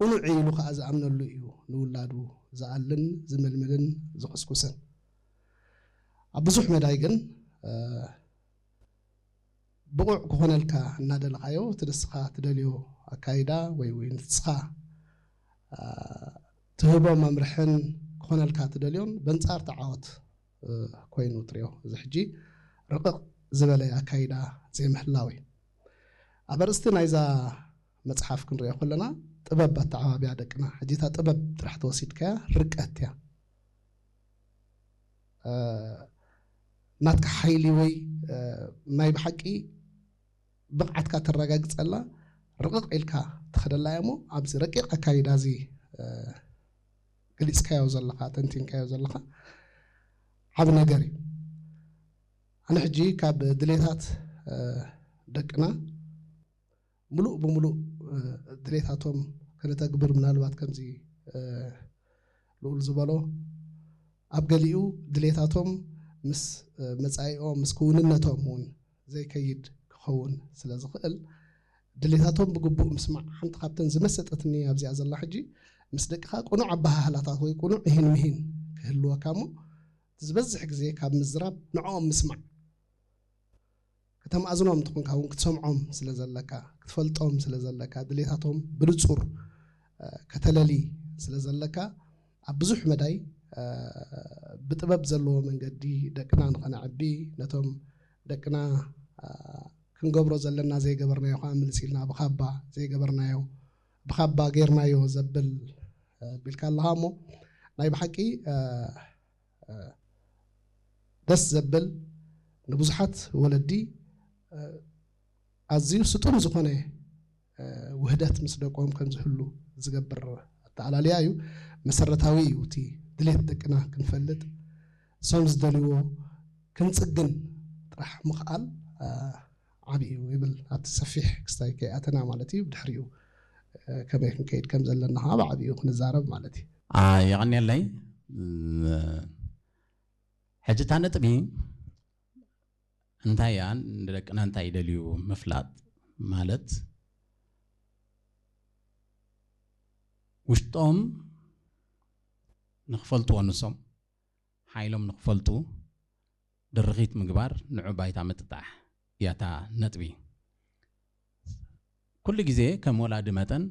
ቅኑዕ ኢሉ ከዓ ዝኣምነሉ እዩ ንውላዱ ዝኣልን ዝምልምልን ዝኹስኩስን። ኣብ ብዙሕ መዳይ ግን ብቑዕ ክኾነልካ እናደለኻዮ እቲ ንስኻ ትደልዮ ኣካይዳ ወይ ወይ ንስኻ ትህቦ መምርሕን ክኾነልካ ትደልዮን በንጻር ተዓወት ኮይኑ ትሪኦ። እዚ ሕጂ ርቕቕ ዝበለ ኣካይዳ ዘይምህላው እዩ። ኣብ ኣርእስቲ ናይዛ መጽሓፍ ክንሪኦ ከለና ጥበብ ኣተዓባብያ ደቅና፣ ሕጂ እታ ጥበብ ጥራሕ ተወሲድካያ ርቀት እያ። ናትካ ሓይሊ ወይ ናይ ብሓቂ ብቕዓትካ ተረጋግጸላ ርቕቕ ኢልካ ትኸደላ እያ እሞ ኣብዚ ረቂቕ ኣካይዳ እዚ ገሊጽካዮ ዘለኻ ተንቲንካዮ ዘለኻ ዓብ ነገር እዩ። ኣነ ሕጂ ካብ ድሌታት ደቅና ምሉእ ብምሉእ ድሌታቶም ከነተግብር ምናልባት ከምዚ ልኡል ዝበሎ ኣብ ገሊኡ ድሌታቶም ምስ መጻኢኦም ምስ ክውንነቶም እውን ዘይከይድ ክኸውን ስለ ዝኽእል ድሌታቶም ብግቡእ ምስማዕ ሓንቲ ካብተን ዝመሰጠትኒ ኣብዚኣ ዘላ ሕጂ ምስ ደቅኻ ቅኑዕ ኣበሃህላታት ወይ ቅኑዕ እሂን ምሂን ክህልወካ እሞ ዝበዝሕ ግዜ ካብ ምዝራብ ንዕኦም ምስማዕ ከተማእዝኖም እንተኾንካ እውን ክትሰምዖም ስለ ዘለካ ክትፈልጦም ስለ ዘለካ ድሌታቶም ብንጹር ከተለሊ ስለ ዘለካ ኣብ ብዙሕ መዳይ ብጥበብ ዘለዎ መንገዲ ደቅና ንኸነዕቢ ነቶም ደቅና ክንገብሮ ዘለና ዘይገበርናዮ ከዓ ምልስ ኢልና ብካባ ዘይገበርናዮ ብካባ ጌርናዮ ዘብል ቢልካ ኣለኻ እሞ ናይ ብሓቂ ደስ ዘብል ንብዙሓት ወለዲ ኣዝዩ ስጡም ዝኾነ ውህደት ምስ ደቆም ከም ዝህሉ ዝገብር ኣተኣላልያ እዩ። መሰረታዊ እዩ እቲ ድሌት ደቅና ክንፈልጥ እሶም ዝደልይዎ ክንጽግን ጥራሕ ምኽኣል ዓብዩ ይብል ኣብቲ ሰፊሕ ክስታይ ከይኣተና ማለት እዩ። ብድሕሪኡ ከመይ ክንከይድ ከም ዘለና ከዓ ብዓብዩ ክንዛረብ ማለት እዩ። የቐንየለይ። ሕጂ እታ ነጥቢ እንታይ እያ ንደቅና እንታይ ይደልዩ ምፍላጥ ማለት ውሽጦም ንክፈልጥዎ ንሶም ሓይሎም ንክፈልጡ ድርኺት ምግባር ንዑ ባይታ ምጥጣሕ እያታ ነጥቢ። ኩሉ ግዜ ከም ወላዲ መጠን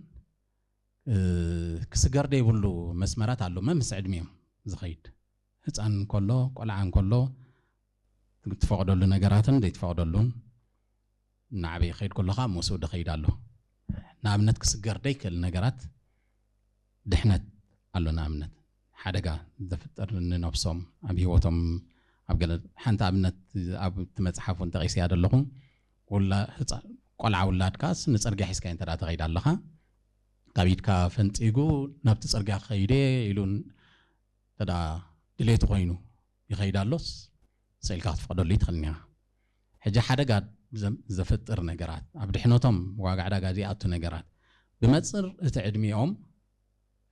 ክስገር ደይብሉ መስመራት ኣሎ መምስ ዕድሚኦም ዝኸይድ ህፃን እንከሎ ቆልዓ እንከሎ ትፈቕደሉ ነገራትን ዘይትፈቕደሉን እናዓበየ ክኸይድ ከሎ ከዓ ምስኡ ድኸይድ ኣሎ። ንኣብነት ክስገር ደይክእል ነገራት ድሕነት ኣሎ። ንኣብነት ሓደጋ ዘፍጥር ንነብሶም ኣብ ህይወቶም ኣብ ገለ ሓንቲ ኣብነት ኣብ እቲ መፅሓፍ እውን ጠቒሰያ ዘለኹ ውላ ህፃ- ቆልዓ ውላድካስ ንፅርግያ ሒዝካዮ እንተ ተኸይድ ኣለኻ ካብ ኢድካ ፈንፂጉ ናብቲ ፅርግያ ክኸይደ ኢሉ እንተ ድሌቱ ኮይኑ ይኸይድ ኣሎስ ስኢልካ ክትፈቕደሉ ይትኽእል እኒኻ። ሕጂ ሓደጋ ዘፍጥር ነገራት ኣብ ድሕነቶም ዋጋ ዕዳጋ ዘይኣቱ ነገራት ብመፅር እቲ ዕድሚኦም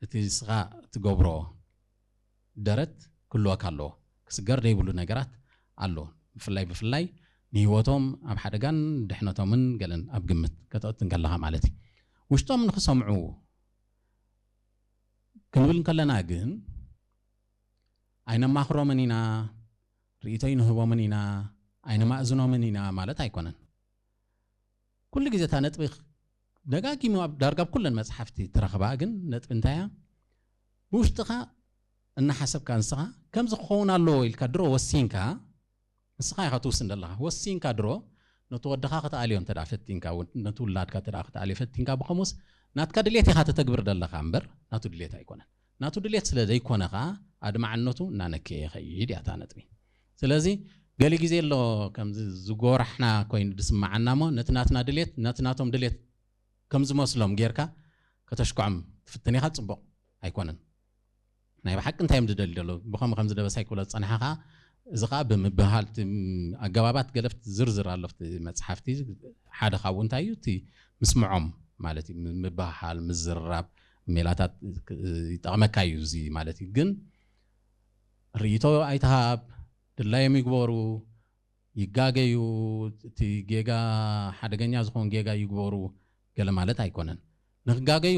እቲ ንስኻ እትገብሮ ደረት ክህልወካ ኣለዎ። ክስገር ዘይብሉ ነገራት ኣሎ። ብፍላይ ብፍላይ ንህይወቶም ኣብ ሓደጋን ድሕነቶምን ገለን ኣብ ግምት ከተእቱ እንከለኻ ማለት እዩ። ውሽጦም ንክሰምዑ ክንብል እንከለና ግን ኣይነማኽሮምን ኢና፣ ርእይቶ ኣይንህቦምን ኢና፣ ኣይነማእዝኖምን ኢና ማለት ኣይኮነን። ኩሉ ግዜ እታ ነጥቢ ደጋጊሙ ኣብ ዳርጋ ኣብ ኩለን መፅሓፍቲ ትረኽባ ግን ነጥቢ እንታይ እያ? ብውሽጥኻ እናሓሰብካ ንስኻ ከምዚ ክኸውን ኣለዎ ኢልካ ድሮ ወሲንካ ንስኻ ኢኻ ትውስን ዘለኻ ወሲንካ ድሮ ነቲ ወድኻ ክትኣልዮ እንተ ፈቲንካ ነቲ ውላድካ እንተ ክትኣልዮ ፈቲንካ ብኸምኡስ ናትካ ድሌት ኢኻ ተተግብር ዘለኻ እምበር ናቱ ድሌት ኣይኮነን። ናቱ ድሌት ስለ ዘይኮነ ኸዓ ኣድማዕነቱ እናነከየ ይኸይድ እያ እታ ነጥቢ። ስለዚ ገለ ግዜ ኣሎ ከምዚ ዝጎራሕና ኮይኑ ዝስምዓና እሞ ነቲ ናትና ድሌት ነቲ ናቶም ድሌት ከም ዝመስሎም ጌርካ ከተሽክዖም ትፍትን ኢኻ፣ ፅቡቕ ኣይኮነን። ናይ ብሓቂ እንታይ እዮም ዝደልዩ ዘለዉ ብኸምኡ ከም ዝደበሳይ ክብሎ ዝፀንሓ ከዓ እዚ ከዓ ብምብሃል ኣገባባት ገለፍቲ ዝርዝር ኣሎ መፅሓፍቲ ሓደ ካብኡ እንታይ እዩ እቲ ምስምዖም ማለት እዩ ምብሃሃል ምዝርራብ ሜላታት ይጠቕመካ እዩ እዚ ማለት እዩ ግን ርእይቶ ኣይትሃብ ድላዮም ይግበሩ ይጋገዩ እቲ ጌጋ ሓደገኛ ዝኾን ጌጋ ይግበሩ ገለ ማለት ኣይኮነን ንክጋገዩ